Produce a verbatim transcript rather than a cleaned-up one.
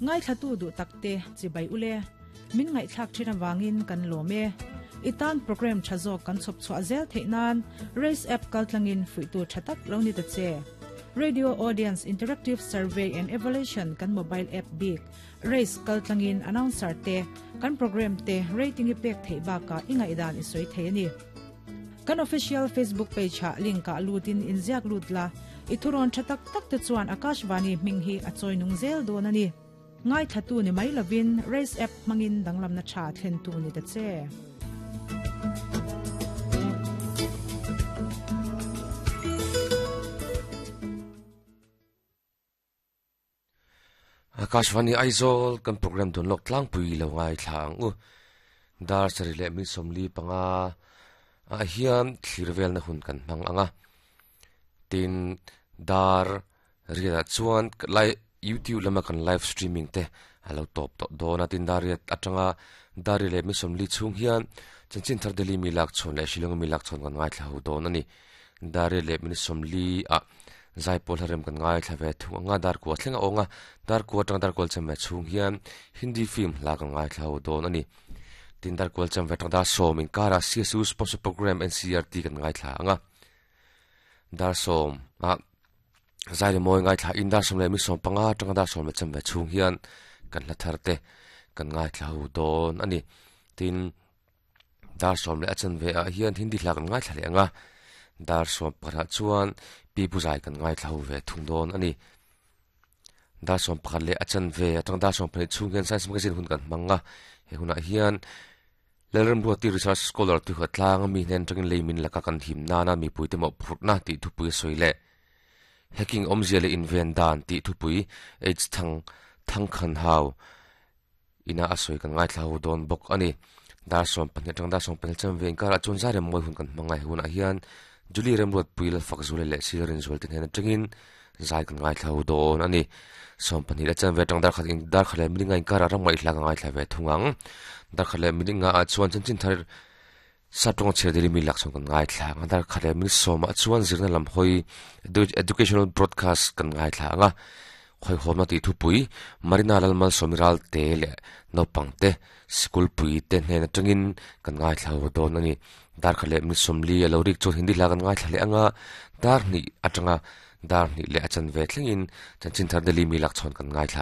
Ngai thlatu du takte chibai ule min ngai thlak thina wangin kan lome itan program thazo kan chop chwa zel theinan race app kaltlangin fuitu thatak lo ni ta che Radio Audience Interactive Survey and Evaluation kan mobile app big race kaltlangin announcer te kan program te rating i pek thei ba ka ingai dan i soi thei ni kan official Facebook page ha link ka lutin inziak lutla ithuron thatak tak te chuan Akashvani minghi achoi nung zel don ani ngai thatu ni mai lovin race app mangin danglam na tha thlen tu ni ta che Akashvani Aizawl kan program don lok tlang pui lo ngai thlang u dar sari le mi somli panga a hian thlirvel na hun kan hmang anga tin dar ria chuan lai YouTube lama kan live streaming te alo top to dona tin dar ria atanga dar le mi somli chung hian chanchin thar deli mi lak chon le shilong mi lak chon kan ngai thla hu don ani dar le mi somli a zai pol harem kan ngai thlave thu anga dar ko thlenga onga dar ko tang dar kol chame chung hian Hindi film la kan ngai thlau don ani tin dar kol cham vetang da som in kara C S U sponsor program N C R T kan ngai thla anga dar som a zai le moi ngai thla in dar som le mi som panga tang dar som le cham ve chung hian kan la tharte kan ngai thlau don ani tin dar som le achan ve a hian Hindi hla kan ngai thla le anga dar som pakhat chuan pi puzai kan ngai thlau ve thung don ani dar som pakhat le achan ve atang dar som phane chung hian science magazine hun kan manga he huna hian lerem ruati research scholar tu khatlang mi hnen tangin leimin laka kan him na na mi puite mo phurna ti thupui soile hacking omzia le invent dan ti thupui h thang thang khan hau ina asoi kan ngai thlau don bok ani dar som pahnih tang dar som pahnih cham ve inkar achun zarem moi hun kan mangai huna hian Julie Remrod puil fak zule le sirin zul tin hen tangin zai kan ngai thlau don ani som pahnih la chan ve tang dar khat in dar khale milinga in kar ram ngai hla ngai thla ve thungang dar khale milinga a chuan chan chin thar satong chedeli mi lak chong kan ngai thla nga dar khale mi som a chuan zirna lam hoi educational broadcast kan ngai thla nga khoi hom na ti thu pui Marina Lalmal Somiral te le naupang te school pui te hnen atangin kan ngai thlau don ani dar khale mi somli alo rik chu Hindi la kan ngai thlale anga dar ni atanga dar ni le achan ve thlengin chanchin thar deli mi lak chon kan ngai thla